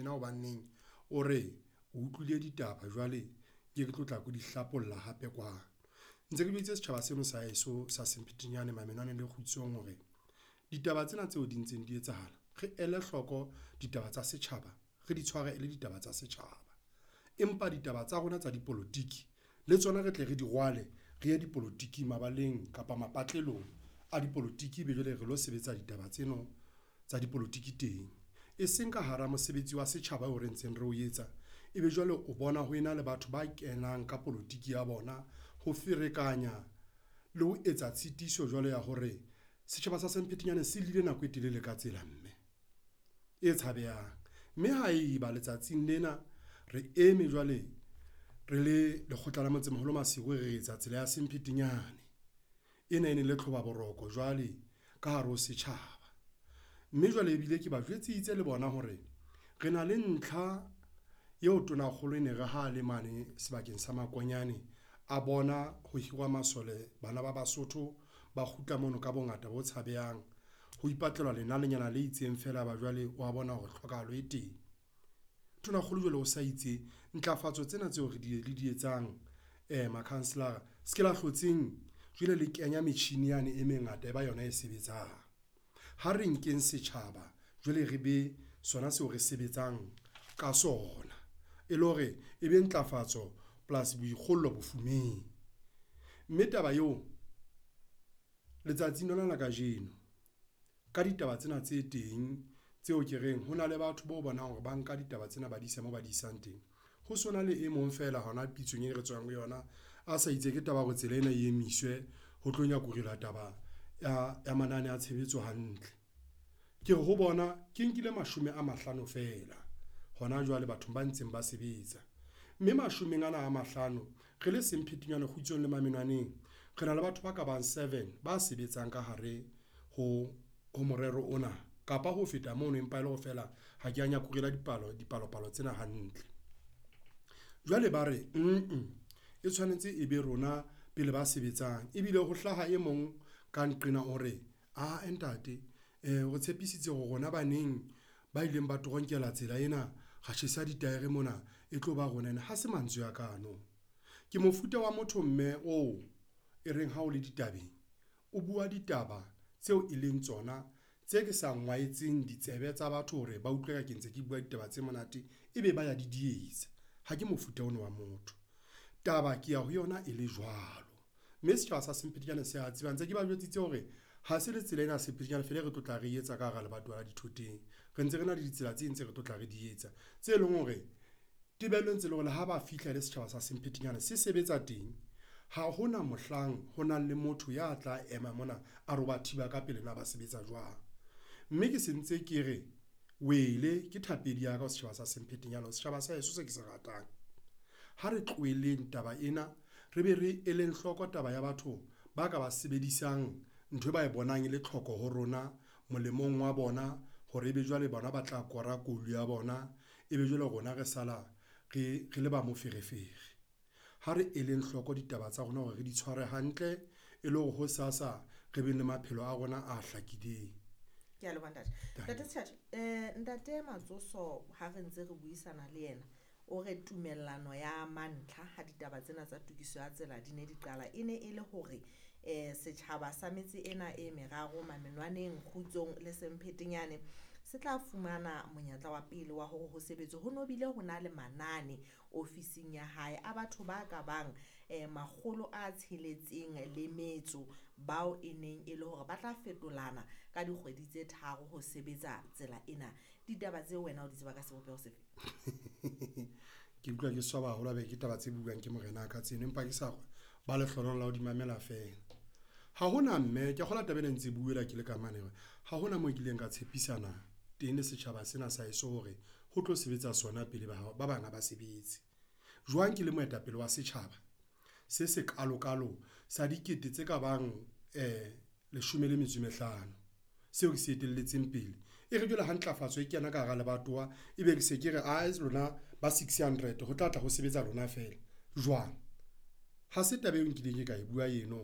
tjena hobaneng o re o utlwile ditaba jwale ke tlo tla ke di hlapolla hape kwano. Ntse ke jweditse setjhaba seno sa heso sa Semphetinyane, Mamenwane le Kgutsong hore ditaba tsena tseo di ntseng di etsahala, re ele hloko ditaba tsa setjhaba, re di tshware e le ditaba tsa setjhaba, empa ditaba tsa rona tsa dipolotiki le tsona re tle re di rwale re ye dipolotiking mabaleng kapa mapatlelong a dipolotiki, ebe jwale re lo sebetsa ditaba tseno tsa dipolotiki teng, e seng ka hara mosebetsi wa setjhaba oo re ntseng re o etsa, ebe jwale o bona ho ena le batho ba kenang ka polotiki ya bona ho ferekanya le ho etsa tshitiso jwale ya hore setjhaba sa Semphetinyane se llile nako e telele ka tsela mme e tshabehang. Mme haeba letsatsing lena re eme jwale re le lekgotla la Motsemoholo Maseru, re etsa tsela ya Semphetinyane ena e ne le tlhoba boroko jwale ka hare ho setjhaba, mme jwale ebile ke ba jwetsitse le bona hore re na le ntlha eo Tonakgolo e ne re ha le mane sebakeng sa Makonyane, a bona ho hirwa masole bana ba Basotho ba kgutla mono ka bongata bo tshabehang, ho ipatlelwa lenanenyana le itseng feela ya ba jwale wa bona hore tlhokahalo e teng. Tonakgolo jwale o sa itse ntlafatso tsena tseo re di le di etsang makhanselara se ke la hlotseng jwale le kenya metjhini yane e mengata e ba yona e sebetsang. Ha re nkeng setjhaba jwale re be sona seo re sebetsang ka sona, e le hore e be ntlafatso plus boikgollo bofumeng, mme taba eo letsatsing lona la kajeno ka ditaba tsena tse teng tseo ke reng ho na le batho bao bonang hore ba nka ditaba tsena ba di isa moo ba di isang teng. Ho sona le e mong feela hona pitsong e re tswang ho yona, a sa itse ke taba ya hore tsela ena e emiswe ho tlo nyakurela taba ya manane a tshebetso hantle. Ke re ho bona ke nkile 50 feela hona jwale bathong ba ntseng ba sebetsa, mme mashomeng ana a mahlano re le Semphetinyane, Kgutsong le Mamenwaneng re na le batho ba ka bang seven ba sebetsang ka hare ho morero ona kapa ho feta mono, empa e le hore feela ha kea nyakurela dipalopalo tsena hantle. Jwale ba re nng e tshwanetse e be rona pele ba sebetsang ebile ho hlaha e mong ka nqena o re, ae ntate o re tshepisitse hore rona baneng ba ileng ba toronkela tsela ena, ra tjhesa ditaere mona e tlo ba rona ena, ha se mantswe a ka ano. Ke mofuta wa motho mme oo e reng ha o le ditabeng, o bua ditaba tseo e leng tsona tse ke sa ngwaetseng ditsebe tsa batho hore ba utlwe ka ke ntse ke bua ditaba tse monate, ebe ba ya didietsa, ha ke mofuta ono wa motho. Taba ke ya ho yona e le jwalo, mme setjhaba sa Semphetinyane se a tseba ntse ke ba jwetsitse hore ha se le tsela ena ya Semphetinyane feela e re tlo tla re etsa ka hara lebatowa la Dithoteng, re ntse re na le ditsela tse ding tse re tlo tla re di etsa tse leng hore tebello e ntse le hore le ha ba fihla le setjhaba sa Semphetinyane se sebetsa teng, ha hona mohlang ho nang le motho ya tla ema mona a re o ba thiba ka pele na ba sebetsa jwang, mme ke se ntse ke re wele ke thapedi ya ka ho setjhaba sa Semphetinyane setjhaba sa heso se ke se ratang. Ha re tlohelleng taba ena, re be re eleng hloko taba ya batho ba ka ba sebedisang nthwe ba e bonang e le tlhoko ho rona molemong wa bona hore ebe jwale bona ba tla kora kolu ya bona, ebe jwale rona re sala re le ba moferefere. Ha re eleng hloko ditaba tsa rona hore re di tshware hantle e le hore hosasa re beng le maphelo a rona a hlakileng. Kea leboha ntate. Ntate Sethatho, ntate Matsoso ha re ntse re buisana le yena, o re tumellano ya mantlha ha ditaba tsena tsa tokiso ya tsela di ne di qala, e ne e le hore setjhaba sa metse ena e meraro Mamenwaneng, Kgutsong le Semphetinyane se tla fumana monyetla wa pele wa hore ho sebetswe. Ho no bile ho na le manane ofising ya hae a batho ba ka bang 606 bao e neng e le hore ba tla fetolana ka dikgwedi tse tharo ho sebetsa tsela ena. Ditaba tseo wena o di tseba ka sebopeho sefe? Ke utlwa ke swaba haholo haebe ke taba tse buang ke morenaka tseno, empa ke sa ba lehlohonolo la ho di mamela feela. Ha hona mme ke a kgolwa taba ena e ntse buela ke le ka mane hore ha hona moo kileng ka tshepisana teng le setjhaba sena sa heso hore ho tlo sebetsa sona pele ba bang ha ba sebetse. Jwang ke le moetapele wa setjhaba se sekaalo-kalo sa dikete tse ka bang 15 seo ke se etelletseng pele, e re jwale ha ntlafatso e kena ka hara lebatowa, ebe ke se ke re ae lona ba 600 ho tla tla ho sebetsa lona feela jwang? Ha se taba eo nkileng ka e bua eno.